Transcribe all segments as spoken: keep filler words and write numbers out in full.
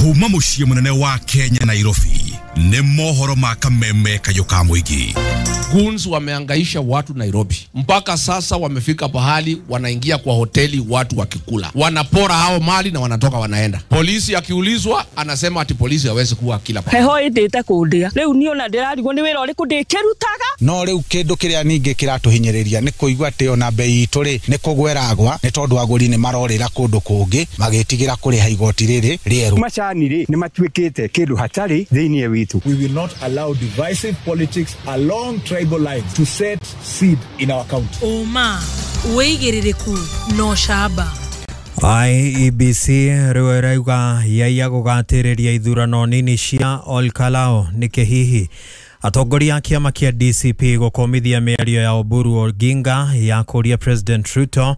Kuma mũciĩ mũnene wa Kenya Nairobi nĩ mohoro ma kameme kayũ ka mũingĩ. Goons wameangaisha watu Nairobi mpaka sasa wamefika pahali wanaingia kwa hoteli watu wakikula, wanapora hao mali na wanatoka wanaenda. Polisi akiulizwa anasema ati polisi hawezi kuwa kila pahali. Heho indite kundia riu ni ona ndirarigwo ni wira uriku ndikirutaga. No riu kindu kiria ningi kiratuhinyiriria ni kuigua ati ona bei itu ri ni kugweragwa ni tondu aguri ni marorira kundu kungi magitigira kuriha igoti riri rieru. Macani ri ni matuikite kindu hatari thiini witu. We will not allow divisive politics along tribal lines to set seed in our county. Uma wigiririku no shaba. I E B C riu irauga yaiya gugatiriria ithurano nini cia Olkalou niki hihi atongoria a kiama kia D C P gukomithia miario ya Oburu Oginga ya kuria President Ruto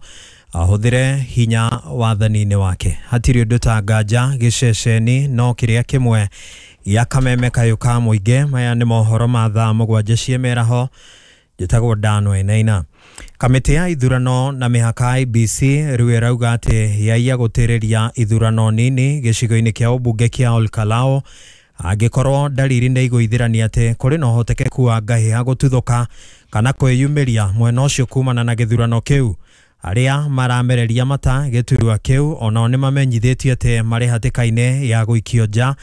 ahuthire hinya wathani-inĩ wake. Hatiri undu ta nganja giceceni no kiria kimwe ya kameme kayũ ka mũingĩ. Maya nĩ mohoro ma thaa mũgwanja cia mĩaraho. Njĩtagwo Dan Wainaina. Kamĩtĩ ya ithurano na mĩhaka I B C rĩu ĩrauga atĩ yaiya gũtĩrĩria ithurano nini gĩcigo-inĩ kĩa ũmbunge kĩa Olkalou angĩkorwo ndariri nĩ igũithĩrania atĩ kũrĩ na ũhotekeku wa ngahĩha gũtuthũka kana kwĩyumĩria mwena ũcio kumana na gĩthurano kĩu. Arĩa maramereria mata gĩturwa kĩu onao nĩ mamenyithĩtio atĩ marĩ hatĩka-inĩ ya gũikio nja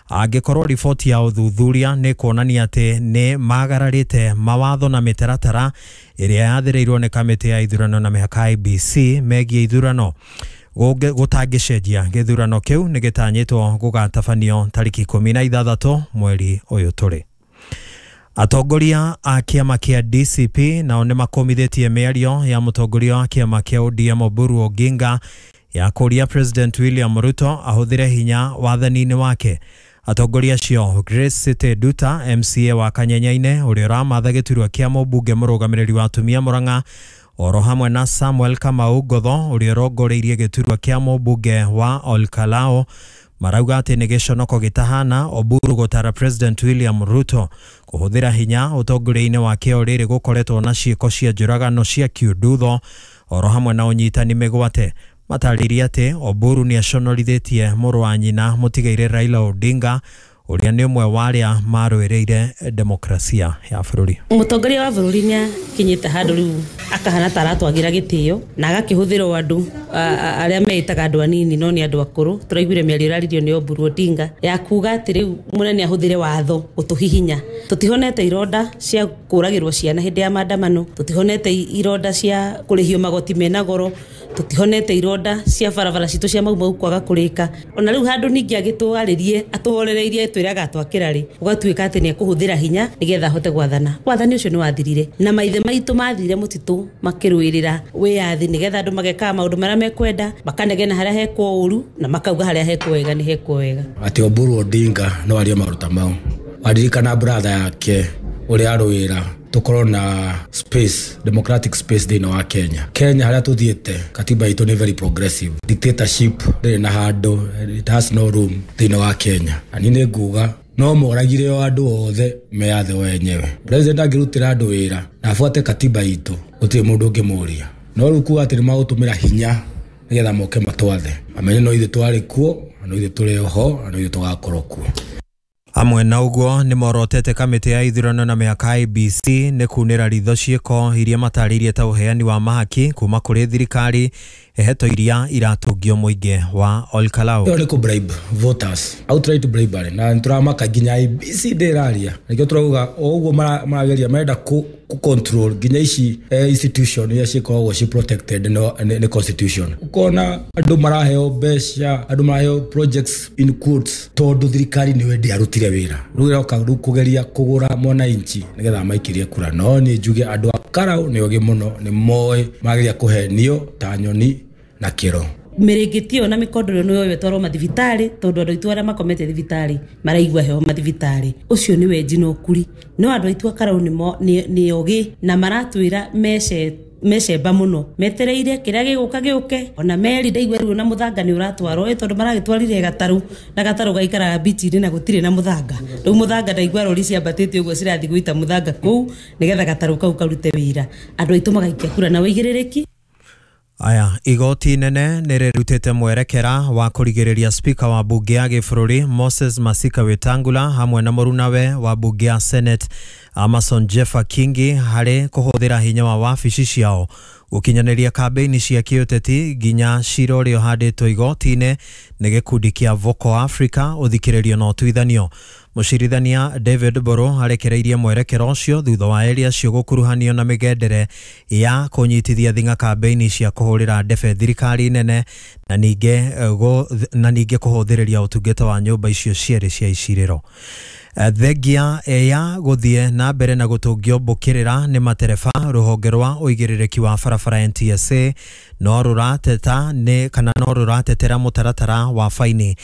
angĩkorwo riboti ya ũthuthuria nĩ kuonania atĩ nĩ magararĩte mawatho na mĩtaratara ĩrĩa yathĩrĩirwo nĩ kamĩtĩ ya ithurano na mĩhaka I B C megiĩ ithurano. Gũtangĩcenjia gĩthurano kĩu nĩ gĩtanyĩtwo gũgatabanio tarĩki ikũmi na ithathatũ mweri ũyũ tũrĩ. Atongoria a kĩama kĩa D C P nao nĩ makomithĩtie mĩario ya mũtongoria wa kĩama kĩa O D M Oburu Oginga ya kũria President William Ruto ahũthĩre hinya wathani-inĩ wake. Atongoria acio Grace City Duta M C A wa Kanyenyaine ũrĩa ũramatha gĩturwa kĩa mũmbunge mũrũgamĩrĩri wa atumia Murang'a oro hamwe na Samuel Kamau Ngotho ũrĩa ũrongoreirie gĩturwa kĩa mũmbunge wa Olkalou marauga atĩ nĩ gĩconoko gĩtahana Oburu gũtara President William Ruto kũhũthĩra hinya ũtongoria-inĩ wake o rĩrĩ gũkoretwo na ciĩko cia njũragano cia kiundutho oro hamwe na ũnyitani mĩgwate. Matarĩirie atĩ Oburu nĩ aconorithĩtie mũrũ wa nyina mũtigaire Raila Odinga ũrĩa nĩ ũmwe wa arĩa marũĩrĩire demokrasia ya bũrũri. Mũtongoria wa bũrũri nĩ akinyĩte handũ rĩu akahana ta aratwagira gĩtĩo na agakĩhũthĩrwo andũ arĩa meĩtaga andũ anini no nĩ andũ akũrũ. Tũraiguire mĩario ĩraririo nĩ Oburu Odinga ya kuga atĩ rĩu mũnene ahũthĩre watho gũtũhihinya. Tũtihonete ironda cia kũragĩrwo ciana hĩndĩ ya maandamano, tũtihonete ironda cia kũrĩhio magoti mena goro, tũtihonete ironda cia barabara citũ cia Mau Mau kwaga kũrĩka. Ona rĩu handũ ningĩ agĩtwarĩrie atũhorereirie twĩraga atwakĩra rĩ ũgatuĩka atĩ nĩ ekũhũthĩra hinya nĩgetha ahote gwathana. Wathani ũcio nĩ wathirire na maithe maitũ mathire mũtitũ makĩrũĩrĩra wĩyathi nĩgetha andũ magekaga maũndũ marĩa mekwenda, makanegena harĩa hekwo ũru na makauga harĩa hekwo wega nĩ hekwo wega. Atĩ Oburu Odinga no arie maruta mau aririkana brother yake ũrĩa arũĩra tukorwo na space, democratic space thĩinĩ wa Kenya. Kenya harĩa tũthiĩte katiba itũ nĩ very progressive. Dictatorship ndĩrĩ na handũ, it has no room thĩinĩ wa Kenya. Na niĩ nĩ nguga no moragire o andũ othe meyathe wenyewe. President angĩrutĩra andũ wĩra na abuate katiba itũ gũtirĩ mũndũ ũngĩmũria. No rĩu kuga atĩ nĩ magũtũmĩra hinya nĩgetha moke matwathe, mamenye no ithuĩ twarĩ kuo, no ithuĩ tũrĩ oho, na no ithuĩ tũgakorwo kuo. Hamwe na ũguo nĩ morotete kamĩtĩ ya ithurano na mĩhaka I B C nĩ kunĩra ritho ciĩko iria matarĩirie ta ũheani wa mahaki kuma kũrĩ thirikari heto iria iratũngio mũingĩ wa Olkalou. Ĩyo nĩ kũ bribe voters, outright bribery, na nĩtũramaka nginya I B C ndĩraria. Nĩkĩo tũrauga o ũguo marageria marenda kũ control nginya ici institution iria cikoragwo ci protected nĩ constitution. Ũkona andũ maraheo mbeca, andũ maraheo projects in quotes tondũ thirikari nĩyo ndĩarutire wĩra. Rĩu ĩroka rĩu kũgeria kũgũra mwananchi nĩgetha maikĩrie kura. No niĩ njuge andũ a Karau nĩ ogĩ mũno, nĩ moĩ mageria kũhenio ta nyoni na kĩro. Mĩrĩngĩti ĩyo na mĩkondoro nĩ yoyo ĩtwarwo mathibitarĩ tondũ andũ aitũ arĩa makomete thibitarĩ maraigua heho mathibitarĩ. Ũcio nĩ wenji na ũkuri. No andũ aitũ a Karau nĩ ogĩ na maratwĩra mece mecemba mũno metereire kĩrĩa gĩgũka gĩũke. Ona meri ndaigua rĩu na mũthanga nĩ ũratwarwo ĩ tondũ maragĩtwarire gatarũ na gatarũ gaikaraga bichi-inĩ na gũtirĩ na mũthanga. Rĩu mũthanga ndaigua rori ciambatĩte ũguo cirathiĩ gũita mũthanga kũu nĩgetha gatarũ kau karute wĩra. Andũ aitũ magaikia kura na wĩigĩrĩrĩki. Aya, igoti nene nĩrĩrutĩte mwerekera wa kũrigĩrĩria speaker wa bunge ya gĩbũrũri Moses Masika Wetangula hamwe na mũrunawe wa bunge ya Senate Amason Jeffa Kingi harĩ kũhũthĩra hinya wa wabici ciao gũkinyanĩria kambĩini cia kĩũteti nginya cira ũrĩa ũhandĩtwo igoti-inĩ nĩ gĩkundi kĩa Vocal Africa ũthikĩrĩrio na ũtuithanio. Mũcirithania David Boro arekereirie mwerekero ũcio thutha wa erĩ acio gũkuruhanio na mĩgendere ya kũnyitithia thing'a kambĩini cia kũhũrĩra ndebe thirikari nene na ningĩ na ningĩ kũhũthĩrĩria ũtungata wa nyũmba icio cierĩ cia icirĩro. Thengia ya gũthiĩ na mbere na gũtũngio mbũkĩrĩra nĩ matereba rũhonge rwa ũigĩrĩrĩki wa barabara N T S A no rũrateta nĩ kana no rũratetera mũtaratara wa faini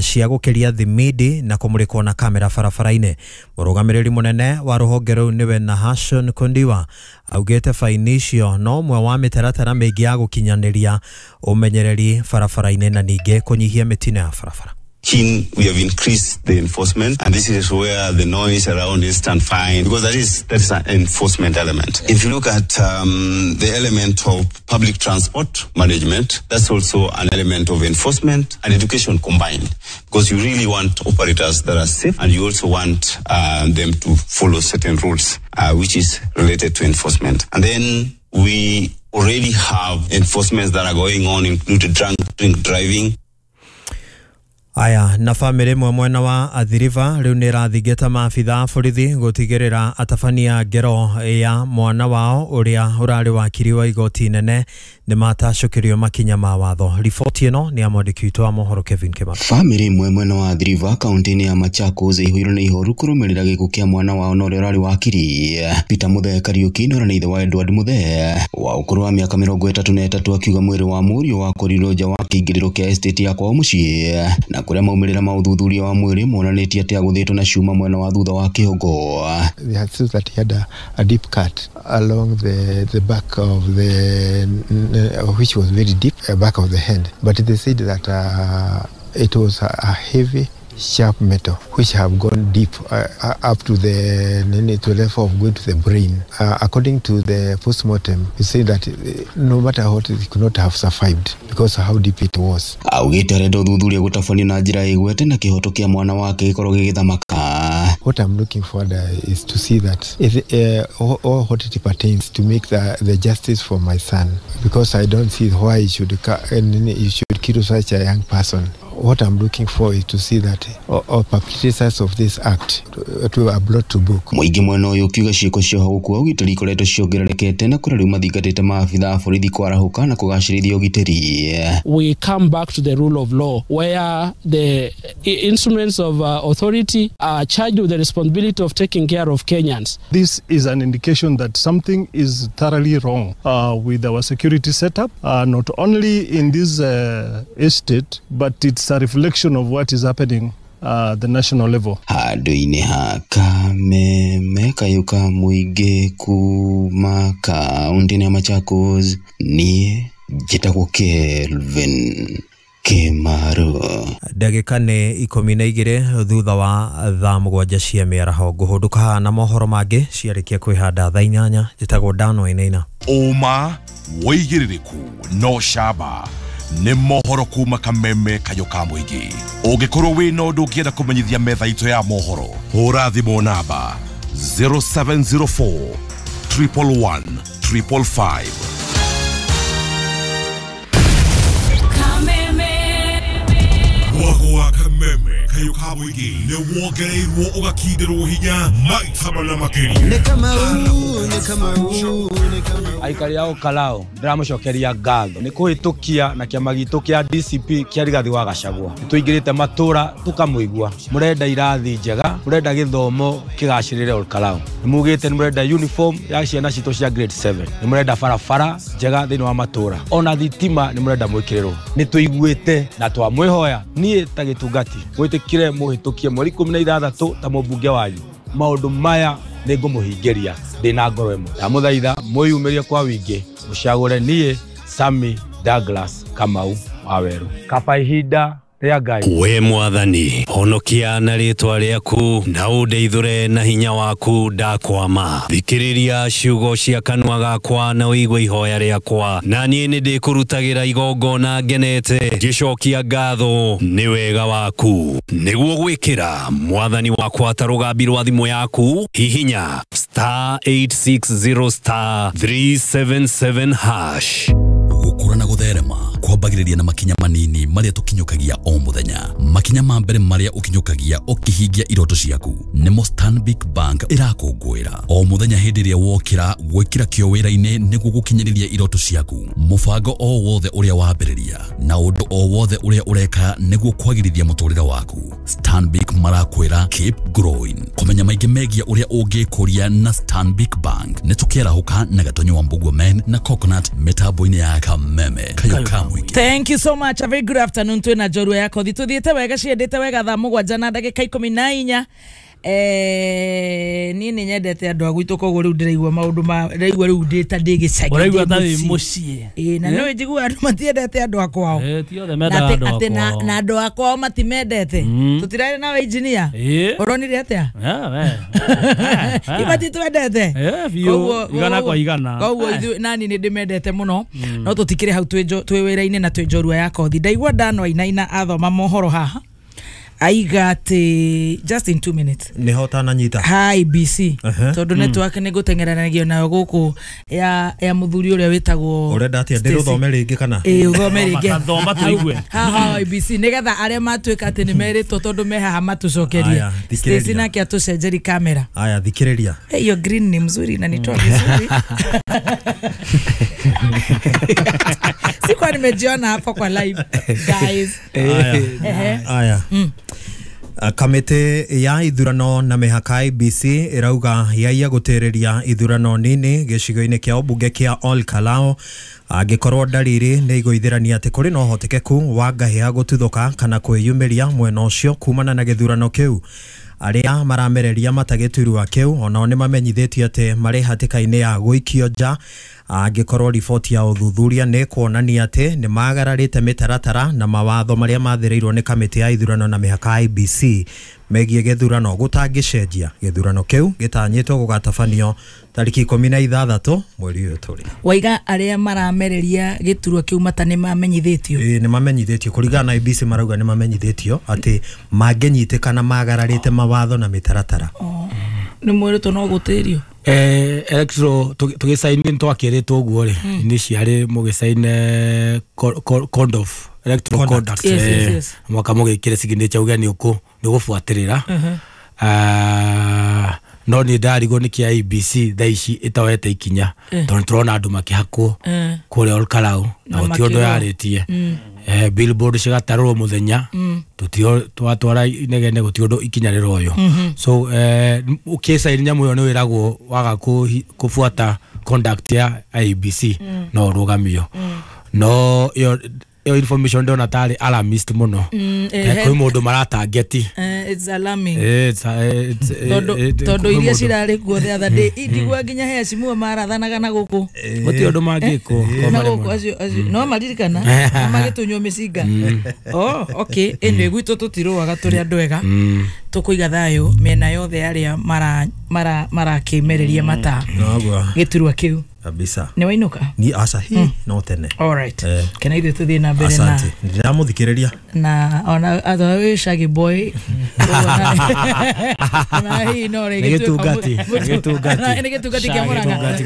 cia gũkĩria thimidi na kũmũrĩkwo na kamera barabara-inĩ. Mũrũgamĩrĩri mũnene wa rũhonge rũu nĩwe Nahashon Kondiwa augĩte faini icio no ũmwe wa mĩtaratara mĩingĩ ya gũkinyanĩria ũmenyereri barabara-inĩ na ningĩ kũnyihia mĩtino ya barabara. Keen, we have increased the enforcement, and this is where the noise around instant fine, because that is that is an enforcement element. If you look at um, the element of public transport management, that's also an element of enforcement and education combined, because you really want operators that are safe, and you also want uh, them to follow certain rules, uh, which is related to enforcement. And then we already have enforcements that are going on, including drunk drink driving. Aya, na famĩlĩ ĩmwe mwena wa Athi River rĩu nĩ ĩrathingata maabitha a borithi gũtigĩrĩra atabania ngero ya mwana wao ũrĩa ũrarĩ wakiri wa igoti nene nĩ matacũkĩrio makinya ma watho. Riboti ĩno nĩ ya mwandĩki witũ wa mohoro Kevin Kĩmani. Famĩlĩ ĩmwe mwena wa Athi River kaunti-inĩ ya Machakos ĩihũirwo nĩ ihoru kũrũmĩrĩra gĩkuũ kĩa mwana wao na ũrĩa ũrarĩ wakiri Peter Muthee Kariuki na ũrĩa nĩ ithe wa Edward Muthee wa ũkũrũ wa mĩaka mĩrongo ĩtatũ na ĩtatũ akiuga mwĩrĩ wa mũriũ wakorirwo nja wa kĩingĩrĩro kĩa estate ya kwao mũciĩ na kũrĩa maumĩrĩra ma ũthuthuria wa mwĩrĩ monanĩtie atĩ agũthĩtwo na cuma mwena wa thutha wa kĩongo. They had said that he had a, a deep cut along the, the back of the, which was very deep, uh, back of the hand. But they said that uh, it was a, a heavy, sharp metal which have gone deep uh, up to the, to the level of going to the brain. Uh, according to the postmortem, he said that no matter what, it could not have survived because of how deep it was. Augĩte arenda ũthuthuria gũtabanio na njĩra ĩgwete na kĩhoto kĩa mwana wake gĩkorwo gĩgĩthamaka. What I'm looking forward uh, is to see that if, uh, all, all what it pertains to make the, the justice for my son, because I don't see why he should, he should kill such a young person. What I'm looking for is to see that all, all perpetrators of this act to, to are brought to book. Mũingĩ mwena ũyũ ũkiuga ciĩko cia ũhagũku wa ũgitĩri ikoretwo ciongererekete na kũrĩa rĩu mathingatĩte maabitha a borithi kwarahũka na kũgacĩrithia ũgitĩri. We come back to the rule of law where the instruments of uh, authority are charged with the responsibility of taking care of Kenyans. This is an indication that something is thoroughly wrong uh, with our security setup, uh, not only in this uh, estate, but it's a reflection of what is happening uh, the national level. Handũ-inĩ ha Kameme kayũ ka mũingĩ kuma kaunti-inĩ ya Machakos, niĩ njĩtagwo Kelvin Kĩmaru. Ndagĩka nĩ ikũmi na igĩrĩ thutha wa thaa mũgwanja cia mĩaraho. Ngũhũndũka haha na mohoro mangĩ ciarĩkia kwĩhanda thaa inyanya. Njĩtagwo Dan Wainaina. Ũma wĩigĩrĩrĩku no camba nĩ mohoro kuma Kameme kayũ ka mũingĩ. Ũngĩkorwo wĩna ũndũ ũngĩenda kũmenyithia metha itũ ya mohoro, hũra thimũ namba zero seven zero four triple one triple five. Mwago wa Kameme kayũ ka mũingĩ nĩ wongereirwo ũgakindĩrwo hinya maita mana makĩria. Nĩ Kamau, nĩ Kamau, nĩ Kamau. Aikari a Olkalou ndĩramũcokeria ngatho nĩ kũhĩtũkia na kĩama gitũ kĩa D C P kĩa Rigathi wa Gachagua. Nĩtũingĩrĩte matũra tũkamũigua. Mũrenda irathi njega, mũrenda gĩthomo kĩgacĩrĩre Olkalou. Nĩmugĩte nĩmũrenda uniform ya ciana citũ cia grade seven. Nĩmũrenda barabara njega thĩinĩ wa matũra. Ona thitima nĩmũrenda mwĩkĩrĩrwo. Nĩtũiguĩte na twamwĩhoya niĩ ta gĩtungati mwĩtĩkire mũhĩtũkie mweri ikũmi na ithathatũ ta mũmbunge wanyu. Maũndũ maya nĩngũmũhingĩria ndĩna ngoro ĩmwe. Ndamũthaitha mwĩyumĩrie kwa wingĩ mũcagũre niĩ Sammy Douglas Kamau wa Weru. Kaba ihinda Rĩa Ngai. We mwathani honokia na rĩtwa rĩaku na ũndeithũre na hinya waku ndakwama. Thikĩrĩria ciugo cia kanua gakwa na ũigue ihoya rĩakwa, na niĩ nĩ ndĩkũrutagĩra igongona ngenete ngĩcokia ngatho nĩ wega waku. Nĩguo gwĩkĩra mwathani wakwa ta rũgambi rwa thimũ yaku, hihinya star eight six zero star three seven seven hash. Gukura na gutherema kwambagiriria na makinya manini maria tukinyukagia o muthenya. Makinya ma mbere maria ukinyukagia ukihingia iroto ciaku nimo Stanbic Bank irakungwira o muthenya hindi ria wokira gwikira kio wira-ini niguo gukinyiriria iroto ciaku. Mubango o wothe uria wambiriria na undu o wothe uria ureka niguo kwagirithia muturire waku, Stanbic marakwira keep growing. Kumenya maingi megia uria ungikuria na Stanbic Bank ni tukiarahuka na Gatonyo wa Mbugua Men na Coconut mitambo-ini ya Kameme kayo kamwe. Thank you so much. A very good afternoon to na njorua ya kothi. Tuthiete wega ciendete wega thaa mugwanja na ndagika ikumi na inya. Eh, ni ni nyendete andu a gwitu koguo riu ndiraigua maundu ma ndiraigua riu ndi ta ndi gicagi. Uraigua ta wi mucii. Eh, na no njigua andu matiendete andu a kwao. Eh, ti othe mendaga andu a kwao. Na andu a kwao matimendete. Tutirari nawe engineer. Uronire atia? Ah, we. Ibati twendete. Eh, biu. Igana kwa igana. Koguo ithu nani ni ndimendete muno. No tutikire hau twi twi wira-ini na twi njorua ya kothi. Ndaigua ndano ainaina athoma mohoro haha. Aiga ati just in two minutes ni hota na nyita hi B C tondu mm. network ni gutengeranagio nayo guku ya ya muthuri uria witagwo urenda atia ndiruthome ringi kana eh uthome ringi thoma tuigue ha ha I B C nigetha aria matuika ati ni meritwo tondu me haha matucokerie. Stacy nake atucenjeri kamera. Aya thikiriria hiyo green ni mzuri na nitoa vizuri. Sikuwa nimejiona hapo kwa live guys. Aya aya mm. Kamĩtĩ ya ithurano na mĩhaka I B C ĩrauga yaiya gũtĩrĩria ithurano nini gĩcigo-inĩ kĩa ũmbunge kĩa Ol Kalou angĩkorwo ndariri nĩ igũithĩrania atĩ kũrĩ na ũhotekeku wa ngahĩha gũtuthũka kana kwĩyumĩria mwena ũcio kumana na gĩthurano kĩu. Arĩa maramereria matagĩturwa kĩu onao nĩ mamenyithĩtio atĩ marĩ hatĩka-inĩ ya gũikio nja angĩkorwo riboti ya ũthuthuria nĩ kuonania atĩ nĩ magararĩte mĩtaratara na mawatho marĩa mathĩrĩirwo nĩ kamĩtĩ ya ithurano na mĩhaka I B C megiĩ gĩthurano gũtangĩcenjia. Gĩthurano kĩu gĩtanyĩtwo gũgatabanio tarĩki ikũmi na ithathatũ mweri ũyũ tũrĩ. Waiga arĩa maramereria gĩturwa kĩu mata nĩ mamenyithĩtio? Ĩĩ nĩ mamenyithĩtio kũringana na I B C marauga nĩ mamenyithĩtio atĩ mangĩnyitĩkana magararĩte mawatho na mĩtaratara. Nĩ mwĩrĩtwo no gũtĩrio? Eh, electro tugisaini twakĩrĩtwo ũguo rĩ initially mũgĩsaine code of electoral conduct mwaka mũgĩkĩre signature uge nĩ ũkũ nĩ ũgũbuatĩrĩra. Ah, no nĩ ndarigwo nĩ kĩa I B C thaa ici ĩtoete ikinya tondũ tũrona andũ makĩhakwo kũrĩa Ol Kalou na gũtirĩ ũndũ yarĩtie. Eh, billboard cigatarũrwo mũthenya tutio twatwara inegene gũtirĩ ũndũ ikinya rĩroywo. So eh ũkĩsaini nyamũ ĩyo nĩ wĩragwo waga kũbuata conduct ya I B C no ũrũgamio. No ĩyo ĩyo information ndona tarĩ alarmist mũno. Kwĩ mũndũ maratangeti. It's alarming. Tondũ tondũ iria cirarĩ kuo the other day indigua nginya heshimiwa marathanaga na gũkũ gũtirĩ ũndũ mangĩkwo na gũkũ acio acio no maririkana magĩtunywo mĩcinga. Oh okay, anyway gwitũ tũtirũaga tũrĩ andũ ega tũkũiga thayũ mĩena yothe arĩa mara mara marakĩmereria mata gĩturwa kĩu kabisa. Nĩ wainuka? Ni aca hi no tene. All right. Kena ithuĩ tũthiĩ na mbere na asante. Ndĩramũthikĩrĩria na ona atho wĩ shaggy boy ona hi no rĩ gĩtungati gĩtungati nĩ gĩtungati kĩa Murang'a.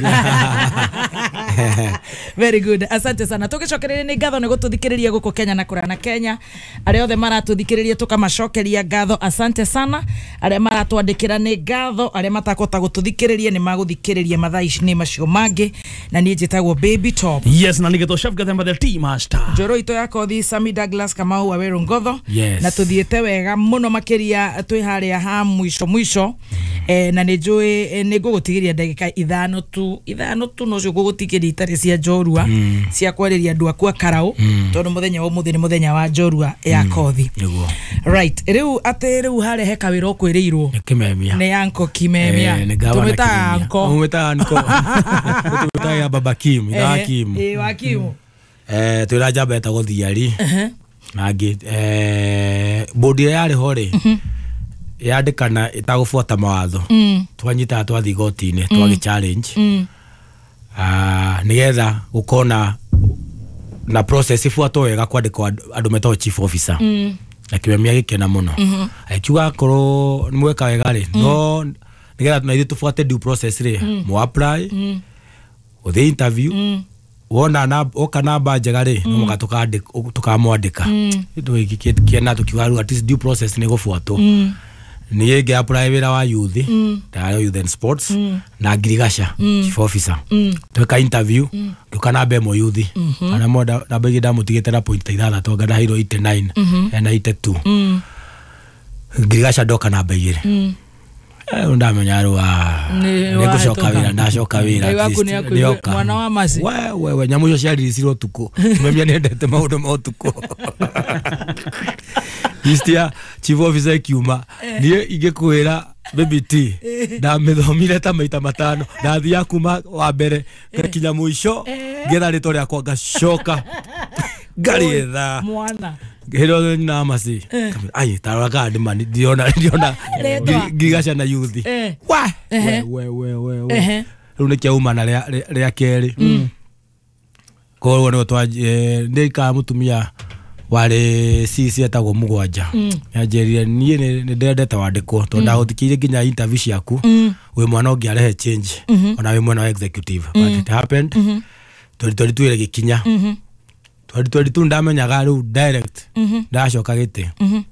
Very good. Asante sana. Tũgĩcokereria nĩ ngatho nĩ gũtũthikĩrĩria gũkũ Kenya na kũraya na Kenya. Arĩa othe maratũthikĩrĩria tũkamacokeria ngatho, asante sana. Arĩa maratwandĩkĩra nĩ ngatho, arĩa matakũhota gũtũthikĩrĩria nĩ magũthikĩrĩria mathaa ici nĩ macio mangĩ. Na niĩ njĩtagwo Baby Top. Yes, na nĩgetwo Chef Gathemba the Tea Master. Njoro itũ ya kothi Sami Douglas Kamau wa Weru Ngotho. Yes. Na tũthiĩte wega mũno makĩria twĩ harĩa ha mwisho mwisho. Eh, na nĩ njũĩ nĩ ngũgũtigĩria ndagĩka ithano tu ithano tu nocio ngũgũtigĩria itarĩ cia njorua mm. cia kwarĩria andũ aku a Karau mm. tondũ mũthenya wa ũmũthĩ nĩ mũthenya wa njorua ya kothi. Nĩguo. Right, rĩu atĩ rĩu harĩa he kawĩra ũkwĩrĩirwo nĩ Kimemia. Nĩ anko Kimemia. Eh, tũmwĩtaga anko. Tũmwĩtaga anko. Tũmwĩtaga Baba Kim, itha wa Kim. Eh, wa Kim. Eh, twĩra njamba etagwo Thiari. Na ngĩ eh board ĩrĩa yarĩ ho rĩ yandĩkana ĩtagũbuata mawatho Mm. twanyitaga twathiĩ igoti-inĩ twagĩ challenge Mm. ah nigetha gũkorwo na na process ibuatwo wega kwandĩkwo andũ andũ metagwo chief officer Mm. na kĩmemia gĩkena mũno Mhm. akiuga akorwo nĩ mweka wega rĩ no nigetha na ithuĩ tũbuate due process rĩ Mm. mũ apply Mm. ũthiĩ interview Mm. wona na oka namba njega rĩ no mũka tũkandĩk- tũkamwandĩka Mm. tũgĩkĩena tũkiuga rĩu at least due process nĩ gũbuatwo Mm. niĩ ngĩ apply wĩra wa youth Mm. ndarĩ youth and sports Mm. na ngirigaca Mm. chief officer Mm. tweka interview ngĩũka namba ĩmwe youth Mhm. ana mo namba igĩ ndamũtigĩte na point ithathatũ anga ndaheirwo eighty nine Mhm. ena eighty two Mm. ngirigaca ndoka namba igĩrĩ Mm. Eh, rĩu ndamenya rĩu ah, Nĩ nĩ ngũcoka wahĩtũka. wĩra ndacoka wĩra Ngai at waku least, nĩ akũigue nĩoka. mwana wa Mercy. We, we, we, nyamũ icio ciariricirwo ũtukũ kimemia nĩendete maũndũ ma ũtukũ list ya chief officer ĩkiuma niĩ ingĩkwĩra baby T ndamĩthomire ta maita matano ndathiaga kuma wa mbere ngakinya mũico ngetha rĩtwa rĩakwa ngacoka ngarĩetha Mwana. hĩndĩ nyina Mercy ai tarora kana ndĩma ndirona ndirona Rĩtwa. ngirigaca na youth Eh. wa Ehe. we we we we Ehe. rĩu nĩ kĩauma na rĩa rĩa kerĩ koguo nĩguo twa nĩ ikara mũtumia warĩ C C etagwo mũgwanja Mm. nĩanjĩrire niĩ nĩ nĩ ndendete wandĩkwo tondũ ndagũthikĩrĩirie nginya interview ciaku Mm. wĩ mwana ũngĩarehe change Mhm. ona wĩ mwena wa executive but it happened Mhm. twenty twenty two ĩgĩkinya Mhm. twenty twenty two ndamenyaga rĩu direct Mhm. ndacoka gĩtĩ Mhm.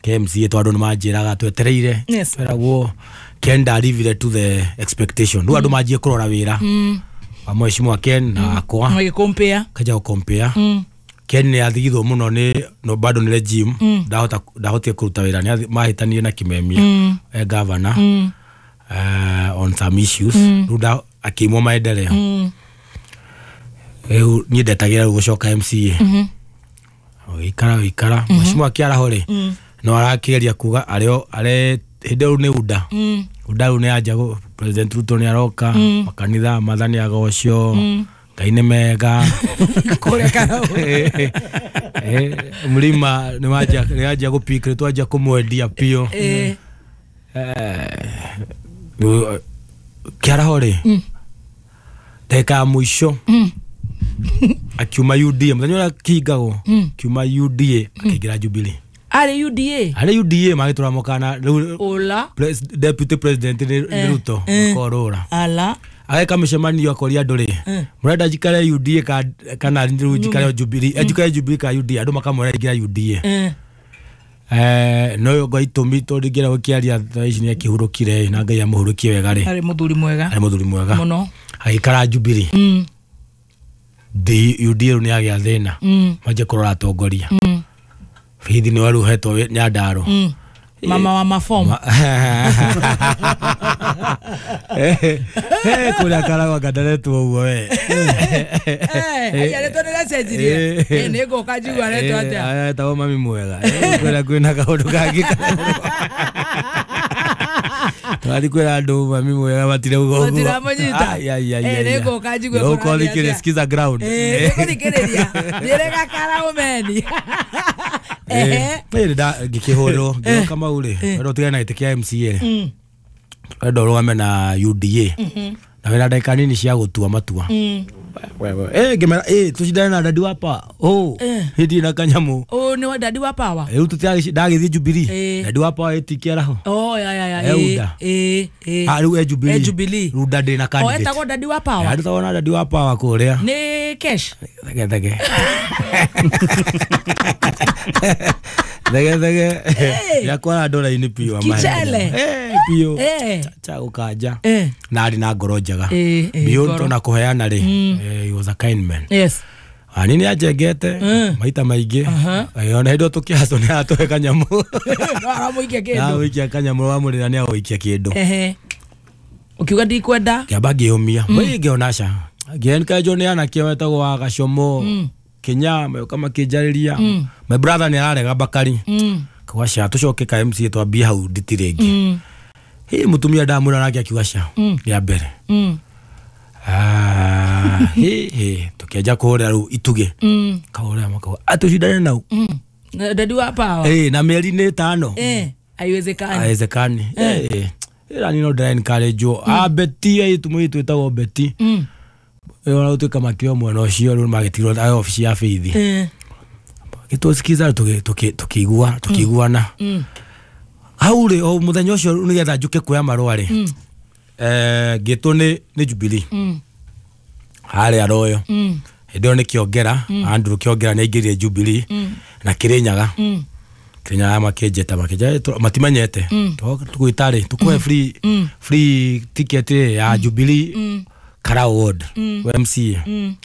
K M C A tondũ nĩ manjĩraga twetereire Yes. tweragwo Ken ndarivire to the expectation rĩu andũ manjie kũrora wĩra Mm. wa mheshimiwa Ken na wakwa Magĩkompea. kaja gũkompea Mm. Ken nĩ athigithwo mũno nĩ no bado nĩ regime Mm. ndahota ndahotire kũruta wĩra nĩ athi- mahĩtanire na Kimemia Mm. e governor Mm. uh, on some issues Mm. rĩu nda akĩimwo maendeleo Mm. rĩu niĩ ndetagĩra rĩu gũcoka M C A Mhm. ũgĩikara ũgĩikara mheshimiwa kĩaraho rĩ Mm. no arakĩgeria kuga arĩ arĩ hĩndĩ ĩyo rĩu nĩ UDA Mm. UDA rĩu nĩ anja gũ- President Ruto nĩ aroka Mm. makanitha mathani agocio Mm. Ngai nĩ mega Kũrĩa Karau. Eh, mlima nĩ wanjia nĩ wanjia gũpik nĩ twanjia kũmwendia biũ Eh. Rĩu, kĩaraho rĩ Mm. ndagĩka ya mũico Mm. akiuma U D A mũthenya ũrĩa kĩhingagwo Mm. akiuma U D A akĩingĩra Jubilee Arĩ U D A. arĩ U D A magĩtũra mokana rĩu Ũla. pres- deputy president nĩ nĩ Eh, Ruto eh. makorũra Ala. ageka mĩcemanio akoria andũ rĩ Eh. mũrenda njikare U D A ka- kana rĩu njikare Jubilee eh, njikare Jubilee ka U D A andũ makamwĩra ingĩra U D A Eh. Eh, no ngo itũmi tondũ ingĩra gũkĩaria thaa ici nĩ akĩhurũkire na Ngai amũhurũkie wega rĩ Arĩ mũthuri mwega. arĩ mũthuri mwega Mũno. agĩikara Jubilee Mm. D- U D A rĩu nĩ agĩa thĩna Mm. manjie kũrora atongoria Mm. bithi nĩ warĩ ũhetwo wĩ- Nyandarua Mm. Mama wa mafomu. kũrĩa karagwa ngandaretwo ũguo we Aya rĩtwa nĩ rĩacenjirie. Eh, nĩ ngũka njigua aretwo atĩa. etagwo mami mwega Eh, kũrĩa kwĩna kaũndũ kangĩ tũrathiĩ kwĩra andũ mami mwega matirauga ũguo Matiramũnyita. Ai, ai, ai, Eh, ai, nĩ ai. ngũka njigue Nĩ kũrathiĩ ũkũthikĩrĩria, atĩa. sikiza ground Eh, nĩngũthikĩrĩria. Njĩre gakaraũmeni. Ehe. Ĩrĩ nda ngĩkĩhũrwo ngĩoka mau rĩ wenda ũtigane na gĩtĩ kĩa M C A rĩ Mm. wenda ũrũgame na U D A Mhm. na wĩna ndagĩka nini cia gũtua matua Mm. Wewe, eh ngĩmera eh tũcindane na dadi wa power oh Eh. hĩndĩ na kanyamũ Ũyũ nĩ wa dadi wa power. rĩu tũtiragĩci ndagĩthiĩ Jubilee Eh. dadi wa power ĩtikĩaraho Oh, ya ya ya. Eh, Eh, UDA. eh, eh. ah rĩu e Jubilee E Jubilee. rĩu UDA ndĩ na O candidate etagwo dadi wa power. andũ tawona dadi wa power kũrĩa Nĩ cash. thege thege thege thege yakwara ndora-inĩ piũ amahe. Kichele. Eh, piũ Eh. cha gũkanja Eh. na arĩ na ngoro njega Eh, eh, beyond ngoro. ona kũheana rĩ Mm. eh, he was a kind man Yes. ani nĩ anjengete Mm. maita maingĩ Aha. Eh, ona hĩndĩ ĩyo tũkĩhacwo nĩ aratũhe kanyamũ No aramũikia kĩndũ. agũikia kanyamũ wamũrĩra nĩ agũikia kĩndũ Ehe. Ũkiuga ndikwenda. ngĩamba ngĩũmia mm. ngĩona ca ngĩenkanjwo nĩ anake wetagwo wa gacomo Mm. Kenya magĩũka makĩnjarĩria Mm. my brother nĩ ararega Bakari Mm. kauga ca tũcoke ka M C A twambie hau nditi rĩngĩ Mm. hĩ mũtumia ndamwĩra nake akiuga ca Mm. rĩa mbere Mm. Ah, hĩ hĩ tũkĩanjia kũhũrĩra rĩu itugĩ Mm. kahũrĩra makauga atũcindane nau Mm. Dadi wa power. Eh, na mĩeri nĩ ĩtano. Eh, haiwezekani. Haiwezekani. Eh. Ĩra ni no ndĩra encourage mm. A Beti aitu mũitu ĩtagwo Beti. Mm. Ĩyo ũtuĩka makĩo mwena ũcio rĩu magĩtigwo ayo ofici ya Faith. Eh. Gĩtũsikiza tũkĩigua tũkĩiguana. Mm. Hau rĩ o mũthenya ũcio nĩgetha njũke kuoya marũa rĩ. Mm. Eh, ngĩtwo nĩ nĩ Jubilee. Mm. Harĩa Royal. Mm. Hĩndĩ ĩyo nĩ Kĩongera, Mm. Andrew Kĩongera nĩ aingĩrire Jubilee Mm. na Kĩrĩnyaga. Mm. Kĩrĩnyaga makĩnjĩta makĩnjĩra matimenyete. Mm. Tũgwĩta rĩ tũkũhe free Mm. free ticket ya Jubilee Mm. Karau Ward Mm. M C A. Mm.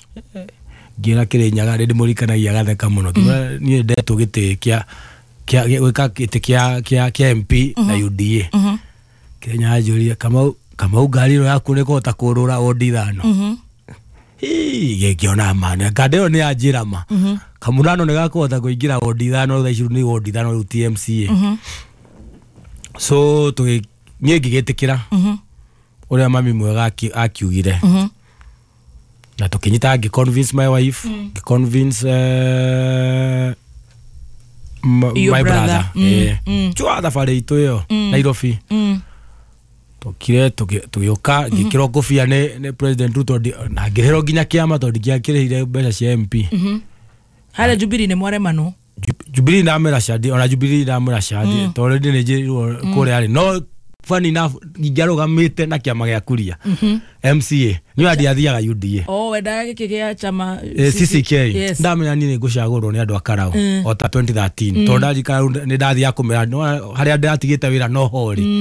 Ngĩra Kĩrĩnyaga nĩ ndĩmũririkanagia agatheka mũno. Ngĩmwĩra niĩ ndetwo gĩtĩ kĩa kĩa gwĩka gĩtĩ kĩa kĩa kĩa M P na U D A. Mhm. Kĩrĩnyaga anjũria Kamau Kamau ngari ĩno yaku nĩ kũhota kũrũra wodi ithano. Mhm. Hii ngĩona ma nganda ĩyo nĩ yanjĩra ma. Mhm. Kamurano nĩ gakũhota kũingĩra wodi ithano thaa ici nĩ wodi ithano rĩu T M C A. Mhm. So tũgĩ niĩ ngĩgĩtĩkĩra Mhm. ũrĩa mami mwega akiugire. Mhm. Na tũkĩnyita ngĩ convince my wife, Mm. ngĩ convince uh, Your my brother. brother. Mm. Eh. Mm. Chua thabarĩ itũ ĩyo Mm. Nairobi. Mm. Tokire tũgĩũka ngĩkĩrwo ngũbia nĩ nĩ President Ruto na ngĩrĩhĩrwo nginya kĩama tondũ ndingĩakĩrĩhire mbeca cia M P. Mhm. Harĩa Jubilee nĩ mwaremanwo. Jubilee ndamwĩra candi ona Jubilee ndamwĩra candi Mm. tondũ already nĩ njĩrirwo kũrĩa rĩ no funny enough ingĩarũgamĩte na kĩama gĩa Kuria Mhm. M C A nĩ ndiathiaga U D A. Oh, wendaga gĩkĩ gĩa chama Eh, C C K. Yes. Ndamenya niĩ nĩ ngũcagũrwo nĩ andũ a Karau Mm. o ta twenty thirteen Mm. tondũ ndarikana rĩu nĩ ndathiaga kũmera harĩa ndĩratigĩte wĩra no ho rĩ. Mm.